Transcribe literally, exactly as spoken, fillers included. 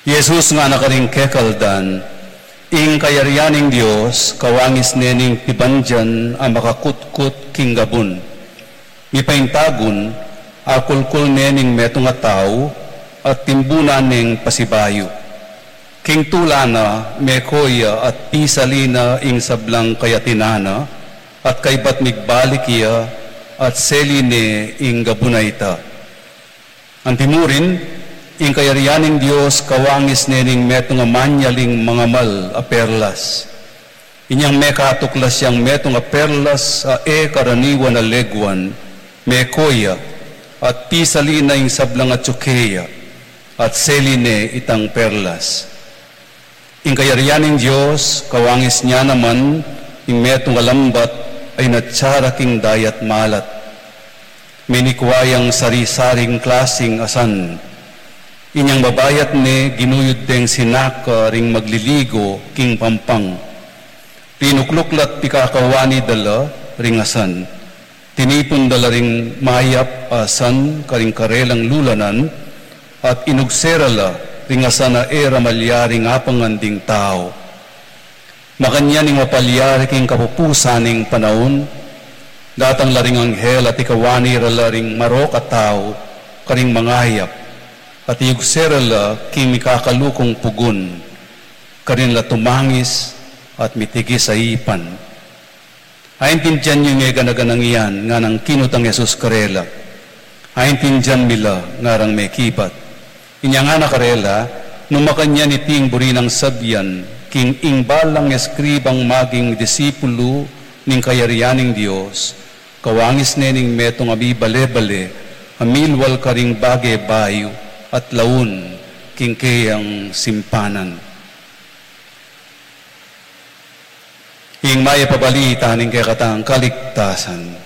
Jesus ngana karing kekaldan, ing kayarian ning Dios kawangis ne ning pibandian a makakutkut king gabun. Mipaintagun, akulkul ne ning metung a tau, at timbunan neng pasibayu. King tula na, meko ya at pisali na ing sablang kayatinan na, at kaybat migbalik ya, at seli ne ing gabun a ita. Antimurin, ing kayarian ning Dios kawangis ne ning metung a manyaling mangamal a perlas. Inyang mekatuklas yang metung a perlas a e karaniwan a leguan, meko ya, at pisali na ing sablang atsu keya, at seli ne itang perlas. Ing kayarian ning Dios kawangis ne naman ing metung a lambat a inatsa ra king dayat malat. Menikwa yang sari-saring klasing asan. Inyang babayat ne ginuyud deng sinaka ring magliligo king pampang. Rinukluk la't pikakawani da la ring asan. Tinipun da la ring mayap a asan karing karelang lulanan, at inugse ra la ring asan a e ra malyaring apangan ding tau. Makanyan ing mapalyari king kapupusan ning panaun, datang la ring anghel at ikawani ra la ring marok a tau karing mangayap, at iyugse ra la king mikakalukung pugun, karin la tumangis at mitigis a ipan. Aintindian yu ing e gana-ganang iyan, nganang kinutang Jesus karela. Aintindian mi la, ngarang mekibat. Inya ngana karela, nu makanyan iti ing buri nang sabian, king ing balang eskribang maging disipulu ning kayarian ning Dios, kawangis ne ning metung a mibale-bale, a milwal karing bage bayu, at laun king keyang simpanan. Ing mayap a balita ning kekatang kaligtasan.